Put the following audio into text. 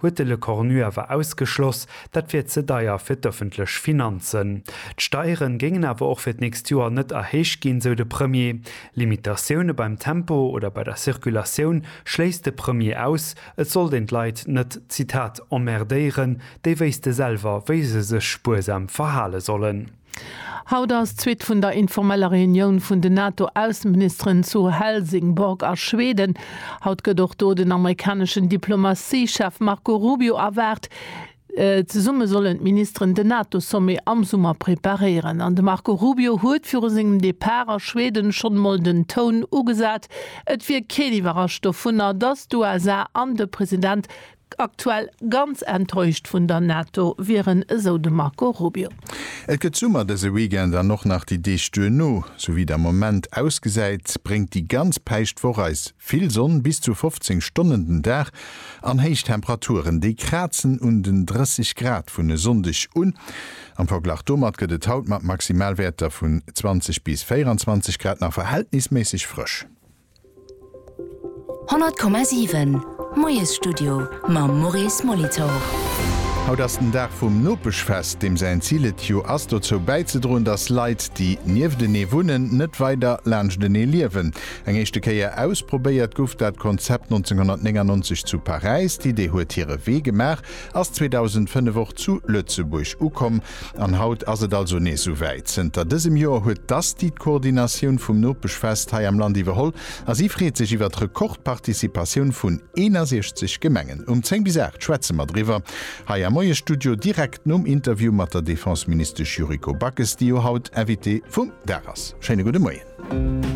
huet de Lecornu awer ausgeschloss. Dat wier ze deier fir d'ëffentlech Finanzen. D'Steieren géingen awer och fir d'nächst Joer net erhéicht ginn, sou de Premier. Limitatioune beim Tempo oder bei der Circulatioun schléisst de Premier aus. Et sollt een d'Leit net, Zitat, emmerdéieren, déi wéisste selwer, wéi se sech spuersam verhale sollen. Haut ass d'Suite vun der informeller Reunioun vun den NATO-Ausseministeren zu Helsingborg a Schweden. Haut gëtt och do den amerikaneschen Diplomatie-Chef Marco Rubio erwaart. Zesumme sollen d'Ministeren den NATO-Sommet am Summer preparéieren. An de Marco Rubio huet viru sengem Depart a Schweden schonn emol den Toun ugesat. Et wier keen iwwerrascht dovunner, datt d'USA an de President aktuell ganz enttäuscht vun der NATO wieren, esou de Marco Rubio. Et gëtt Summer dëse Weekend an och nach déi Deeg duerno. Sou wéi et am Moment ausgesäit, bréngt déi ganz Päischtwoch eis vill Sonn, bis zu 15 Stonnen den Dag, an héich Temperaturen, déi krazen un den 30 Grad vun e Sonndeg un. Am Verglach domat gëtt et haut mat Maximalwäerter vun 20 bis 24 Grad nach verhältnisméisseg frësch. 100,7 Moiesstudio mam Maurice Molitor. Haut ass den Dag vum Nopeschfest, deem säin Zil et jo ass, dozou bäizedroen, dass Leit, déi nieftenee wunnen, net weider laanschtenee liewen. Eng éischte Kéier ausprobéiert gouf dat Konzept 1999 zu Paräis. D'Idee huet hire Wee gemaach, ass 2005 och zu Lëtzebuerg ukomm An haut ass et also nees souwäit. Zënter dësem Joer huet d'ASTI d'Koordinatioun vum Nopeschfest hei am Land iwwerholl a si freet sech iwwer d'Rekordparticipatioun vun 61 Gemengen. Um 10 bis 8 schwätze mer driwwer hei am Moiesstudio, direkt nom Interview mat der Defenseministesch Yuriko Backes, déi jo haut Invitée vum Dag ass. Schéine gudde Moien.